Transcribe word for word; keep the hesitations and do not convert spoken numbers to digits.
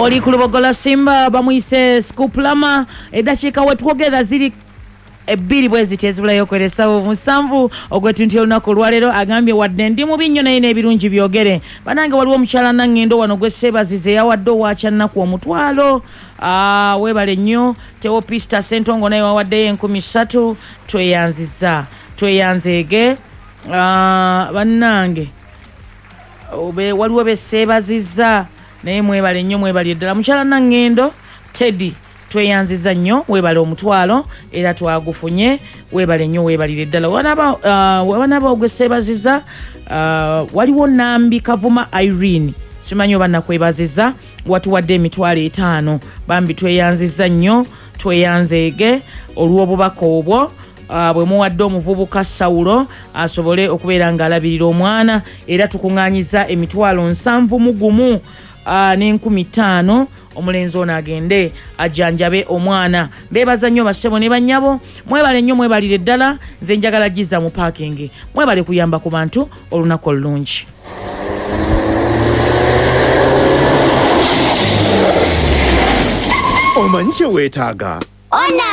Oli ku Lubogola Simba bamuyise Scoop Lama. Eddakiika wetwogera ziri ebbiri bwe ziti ezibulayo okweresawo musanvu ogw'ettunti olunaku olwaleero. Agambye wadde ndi mubi nnyo, naye n'ebirungi byogere. Banange, waliwo omukyala Naŋŋendo wano gwe seebazize, yawadde owakyannaku omutwalo. Ah, weebale nnyo. Teopista Sentongo naye wawaddeyo enkumi ssatu. Tweyanziza, tweyanzeege. Ah, bannange, obe waliwo beseebazizza, naye mwebale nnyo, mwebale ddala. Mukyala Naŋŋendo Teddy, tweyanziza nnyo, weebale omutwalo, era twagufunye. Weebale nnyo, weebalire ddala. Wanaba uh, wanaba ogweseebaziza, uh, waliwo Nambi Kavuma Irene, simanyi oba nakwebaziza, watuwadde emitwalo etaano. Bambi tweyanziza nnyo, tweyanzeege olw'obubaka obwo uh, bwe muwadde omuvubuka Sawulo asobole okubeera ng'alabirira omwana. Era tukuŋŋaanyiza emitwalo nsanvu mu gumu uh, n'enkumi ttaano, omulenzi ono agende ajjanjabe omwana. Mbeebaza nnyo bassebo ne bannyabo, mwebale nnyo, mwebalire ddala. Nze njagala giza mu parking. Mwebale kuyamba ku bantu. Olunaku olulungi. Omanyi kye weetaaga? Ona.